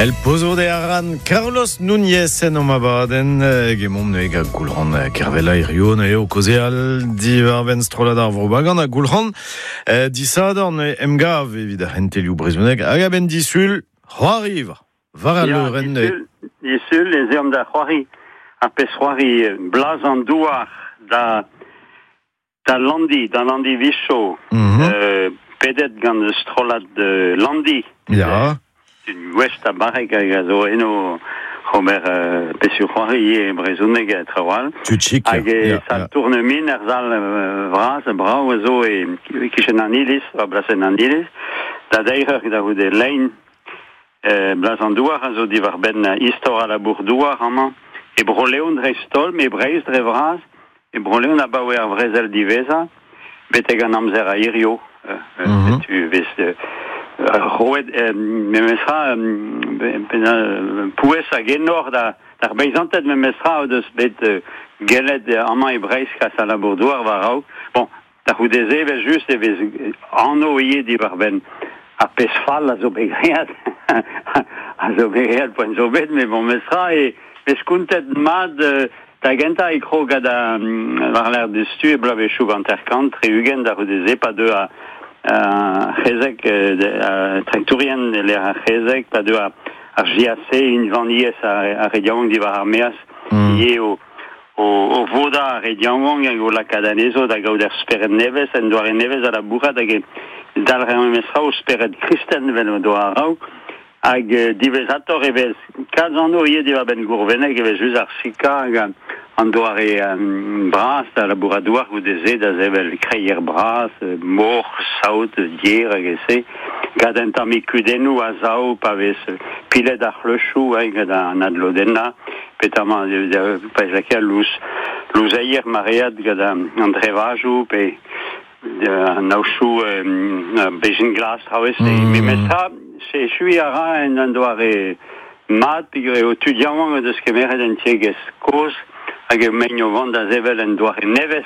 El Pozo de Aran, Carlos Núñez en om abadenn, hag emaomp neuze gant Goulc'han Kervella hirio neuze o kaozeal diwar-benn strollad ar Vro Bagan ha Goulc'han disadorn emgav evit ar c'hentelioù brezhoneg hag a-benn disul c'hoariva war al leurenn. Disul ez eomp da c'hoari ar pezh c'hoari Blaz an douar da Landi, da Landi Vicho, pedet gant strollad Landi. Tud gouest ha barrek hag a zo eno ober pezhioù c'hoari e brezhoneg ha traoù all. Tud chik. Hag e sal Tournemine, er sal vras, brav a zo e kichen an iliz, war blasenn an iliz, da deir eur da c'houde lein. Blaz an douar a zo diwar-benn istor al labour-douar amañ, e Bro-Leon dreist-holl, met e Breizh dre vras, e Bro-Leon abaoe ar vrezel diwezhañ, betek an amzer a hirio. Setu vez roet memestra pouez hag enor d'ar beizanted memestra o deus bet gellet amañ e Breizh kas al labour-douar war-raok. Bon, da c'houde-se evel-just e vez anv ivez diwar-benn ar pezh fall a zo bet graet, a zo bet graet poent zo bet, met bon, memestra e vez kontet mat. Da gentañ e krog gant war-lerc'h diouzhtu e bloavezhioù 50, 60 da c'houde-se pa deu ar c'hezeg, traktourien e-lec'h ar c'hezeg, pa deu ar JAC, unvaniezh ar re yaouank diwar ar maez, ivez o vodañ ar re yaouank hag o lakaat anezho da gaout ur spered nevez, un doare nevez da labourat hag e dalc'her memestra o spered kristen evel o doa a-raok. Hag diwezhatoc'h e vez kalz anv ivez diwar-benn Gourveneg, e vez just ar sikañ hag an doare bras da labourat douar goude-se da sevel kreier bras, moc'h, saout, dier hag e-se, gant un tammig kudennoù a sav pa vez pilet ar c'hleuchoù gant an adlodennañ, petamant pa ez lakaer louzeier maread gant an drevajoù pe an aochoù bezhin glas traoù-se. Memestra, echuiñ a ra en un doare mat peogwir eo tud yaouank o deus kemeret un tiegezh kozh hag emaint o vont da sevel un doare nevez.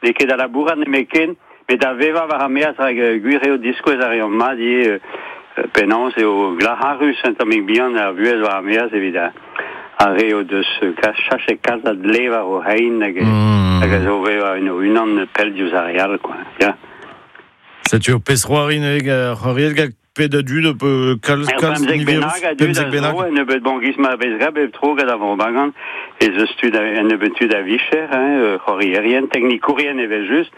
N'eo ket da labourat nemetken, met da vevañ war ar maez rak gwir eo diskouez a reont mat ivez penaos eo glac'harus un tammig bihan ar vuhez war ar maez evit ar re o deus chachet kalz a dle war o c'hein hag hag a zo vevañ en o-unan pell diouzh ar re all, quoi. Ya. Setu ur pezh c'hoari neuze c'hoariet gant pet a dud kalz kalz 15 bennak a dud a zo, un nebeud bon giz ma vez graet bep tro gant ar Vro Bagan ez eus tud un nebeud tud a vicher, hein, c'hoarierien, teknikourien evel-just.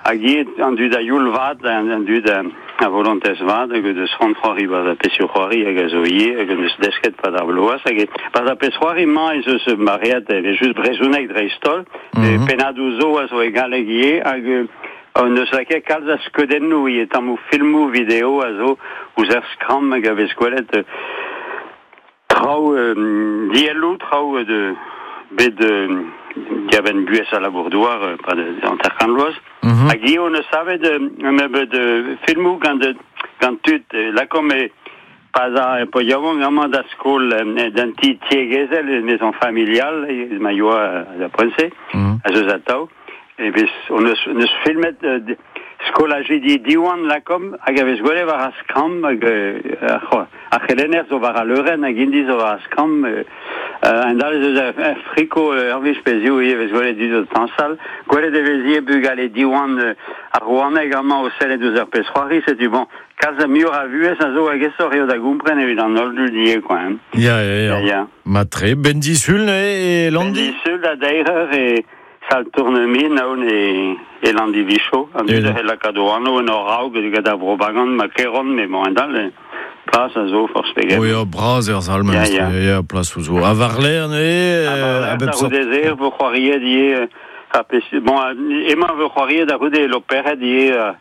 Hag ivez an dud a youl vat, an dud a volontez vat hag o deus c'hoant c'hoari 'barzh ar pezhioù c'hoari hag a zo ivez hag o deus desket 'pad ar bloaz hag 'barzh ar pezh c'hoari-mañ ez eus maread evel-just brezhoneg dreist-holl, pennadoù zo a zo e galleg ivez hag hon eus lakaet kalz a skeudennoù ivez, tammoù filmoù video a zo ouzh ar skramm hag a vez gwelet traoù dielloù, traoù de bet diabenn buhez al labour-douar pad 50 vloaz. Hag ivez hon eus savet un nebeud filmoù gant tud lakaomp e pa 'z a paotr yaouank amañ da skol d'un ti tiegezhel, maison familiale, ma yoa da poent-se, a zeus atav. E vez hon eus filmet skolajidi Diwan lakaomp hag a vez gwelet war ar skramm hag ar c'helenner zo war al leurenn hag int zo war ar skramm. Un dal ez eus ur friko ur wech pe ziv ivez vez gwelet dud o tañsal. Gwelet e vez ivez bugale Diwan ar Rouaneg amañ o sellet ouzh ur pezh c'hoari. Setu bon, kalz a muioc'h a vuhez a zo hag aesoc'h eo da gompren evit an holl dud ivez quoi. Hein. Ya. Matre, ben disul e Landi? Ben disul da deir eur e sal Tournemine aon e Landi-Vicho. An dud a c'hell lakaat o anv en hor raok gant ar Vro Bagan ma keront, met bon, endal, plas a zo forzh pegen. Oh ya, bras eo ar sal memes. Ya, plas zo. Ha war-lerc'h neuze, a bep sort. A-c'houde-se e vo c'hoariet ivez. Bon, emañ vo c'hoariet a-c'houde l'operet ivez.